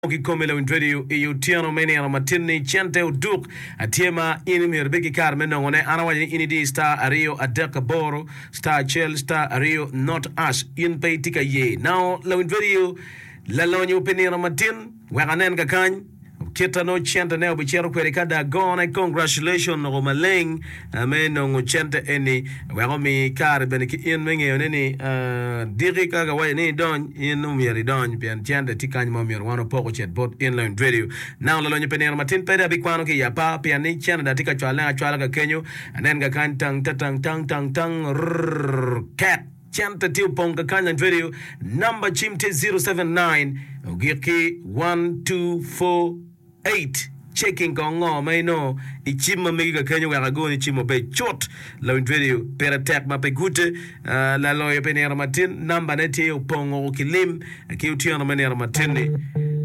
Kikome lawiny radio i otyeno me nino matin-ni, cente oduk tye ma in myero ibed ki kare me nongone. An awaco ni in idi star aryo adek aboro star acel star aryo not ash. In pe itye ka ye. Now lawiny radio lalonyo pi nino matin wek anen kakany. Kita nongo cente ne obicito kwede ka da gone. Congratulation noko maleng me nongo cente eni wek omi kare bene ki in me ngeyo ne ni diki ka kawaco ni idony in omyero idony pien cente tye kany ma omyero wan opok ocit bot in lawiny radio. Nang lalonyo pe nino matin pede abikwano ki i apar pien ni cente da tye ka cwale acwala ka kenyo anen ka kany tang ta tang tang tang tang rrrr kek. Cente tye opong kakany lany radio namba cim tye 079 ogik ki 1248 checking kong ngo ma inongo i cim ma megi kakenyo wek agoni cim obed cut lawiny radio pire tek ma pe gute laloyo pi nino matin namba ne tye opongo ki lim ki otyeno me nino matin ni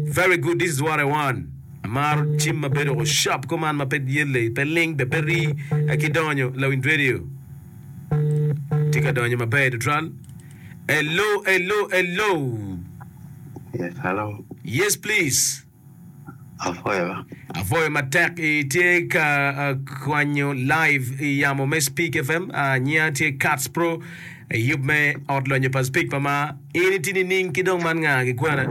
very good this is what I want amaro cim ma bedo sharp kuman ma pe yelle pe ling be pe rii ki donyo lawiny radio Tye ka donyo maber tutwal. Hello, hello, hello. Yes, hello. Yes, please. Apwoyo. Apwoyo matek. Itye ka uh, kwanyo live i yamo me Speak FM. Uh, nyinga tye Cats Pro. I yub me ot lonyo pa Speak pa ma. In itye nining ki dong man nga ki kwena?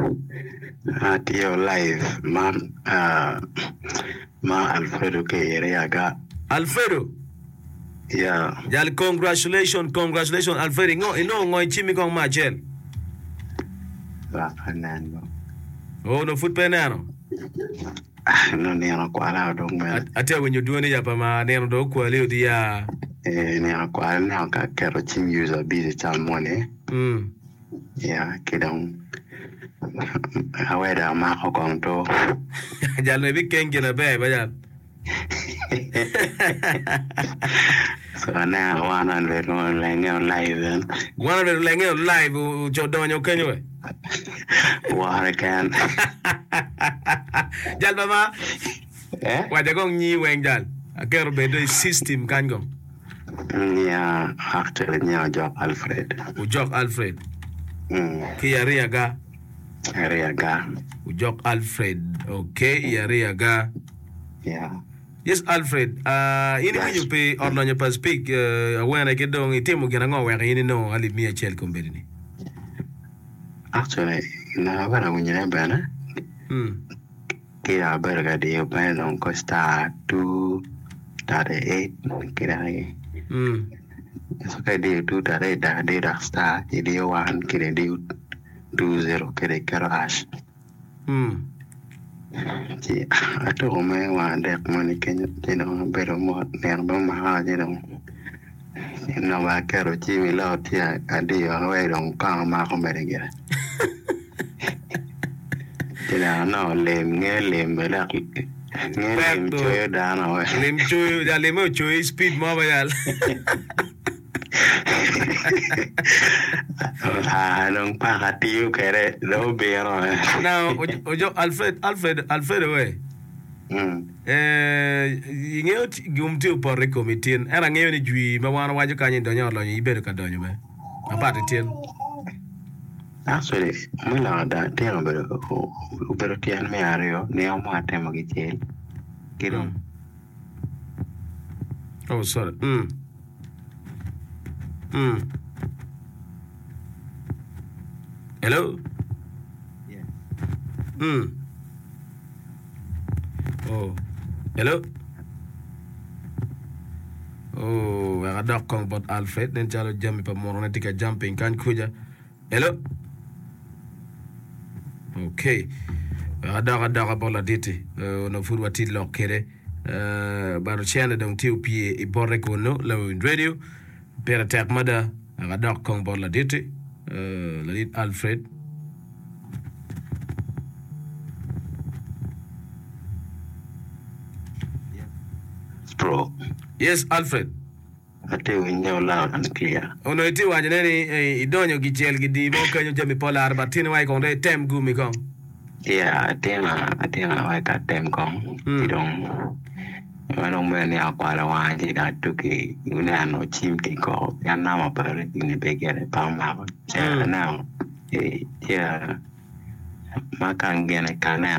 Atye live ma uh, ma Alfredo ki Iriaga. Alfredo. Yeah. Jal congratulation congratulation Alfred ingo inongo ngo i cimmi kong me acel? Lak aneno. Oh no pud pe ineno. Ah, no nino okwala dong bene. Atye winyo dwoni ya pa ma nino dong okwali odi ya. Eh, nino okwala neno ka aketo cim user busy cal moni. Mm. Yeah, ki dong aweda amako kong to. Jal no ibikeng gin aber ba jal. So aneno 100 olenge live en. 100 olenge live oco donyo kenyo we. Wore ken. Jal baba. Eh? Waca kong nyi weng jal. Aketo bedo i system kany kong. Nia actually nia Ojok Alfred. Ojok Alfred. Mm. Ki Ariaga. Ariaga. Ojok Alfred. Okay, i Ariaga. Yeah. Yes Alfred, uh, in iwinyo pi ot lonyo pa Speke uh, awene ki dong itimo gin ango wek in inongo alip miya acel kombeddi ni? Actually, naka abedo awinyone bene Mm. ki dok abedo ka diyo bene dong ko star 238 ki dok Mm. so ka idiyo 238 dok idiyo dok star idiyo 1 ki dong idiyo 20 ki dong iketo hash. Ci atuko me wang adek moni kenyo ci dong abedo mot nino bene omaka ci dong onongo aketo cim i lot ci adiyo wek dong kong amako mere gire ci dong anongo lim nge lim bene dok nge lim coyo dano Lim coyo, ja lime ocoyi speed mo ba yal. Aa dong paka tiyo kwede dong obino. Now, ojo Alfred, Alfred, Alfredo we. Mm. Eh, ingeyo gum tye opoto i komi tin. Ento angeyo ni jwi ma wan wawaco kany i donyo olonyo ibedo ka donyo be. Mapat i tin. Actually, me lok ada, tyen obedo obedo tyen me aryo, nino mo atemo kicel ki dong. Oh, sorry. Mm. Mm. Hello? Yes. Mm. Oh. Hello? Oh, wek adok kong bot Alfred. Nen calo jami pa murone tye ka jumping kany kuca. Hello? Okay. Wek adok adoka bot ladit-ti. Uh, onongo pud watye lok kwede. Uh, but ocene dong tye opye i bote kunu, lawiny radio. Pire tek mada. Wek adok kong bot ladit-ti. Uh, ladit Alfred. Bro. Yes, Alfred. Atye winyo loud and clear. Onongo itye waco ne ni idonyo gicel gidii mo kenyo jami pe olaro but tini wa kong dong item gumi kong. Yeah atina atina wek atem kong ci dong ma dong mere ni akwalo wanga ci dong atuki neno cim ki koko pien namba pa rini pe gire pe omako ci aneno ci. Ma kang gine ka neno.